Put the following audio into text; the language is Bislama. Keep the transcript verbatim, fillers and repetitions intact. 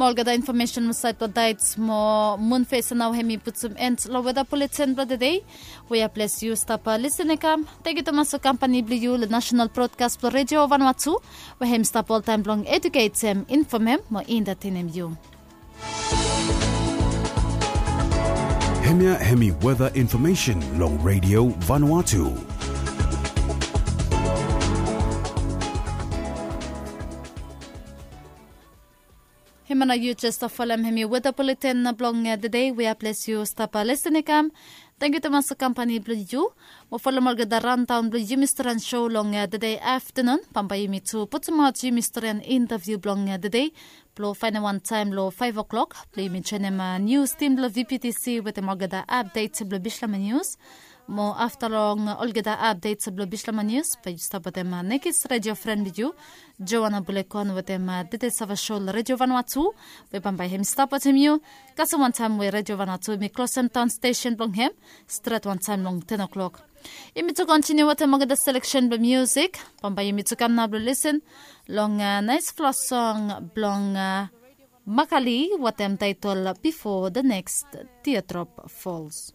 Mo olgeta infomesen mo sait blong daets mo mun fes nao hem i putum en long weda buletin blong tede. We ya ples yu stap lisin i kam. Tenkyu tumas long kampani blong yu long nasenal brodkas blong redio vanua tu, we hem stap oltaem blong eduketem, infomem mo entatenem yu. Hemia hemi weda infomesen long redio Vanuatu. Hemia nao yu jes folem hemi weda buletin blong tede. We ya ples yu stap lisin i kam. Tenkyu tumas long kampani blong yu. Mo folem olgeta raondaon blong yumi stren sho long tede aftenun. Bambae yumi tu putumaot yumi stren intaviu blong tede blong faenem wantaem long faef oklok blong yumi joenem nius tim blong vptc wetem olgeta apdet blong bislama nius. Mo afta long olgeta apdet blong bislama nius bae yu stap wetem nekis redio fren blong yu, joana bulekon, wetem tede sava sho long redio vanua tu, we bambae hem i stap wetem yu. Kasem wantaem we redio vanua tu hem i klosem daon stesen blong hem stret wantaem long ten oklok. Yumi tu kontiniu wetem olgeta seleksen blong miusik. Bambae yumi tu kam nao blong lisin long naesfala song blong makali wetem taetol bifo the next teardrop falls.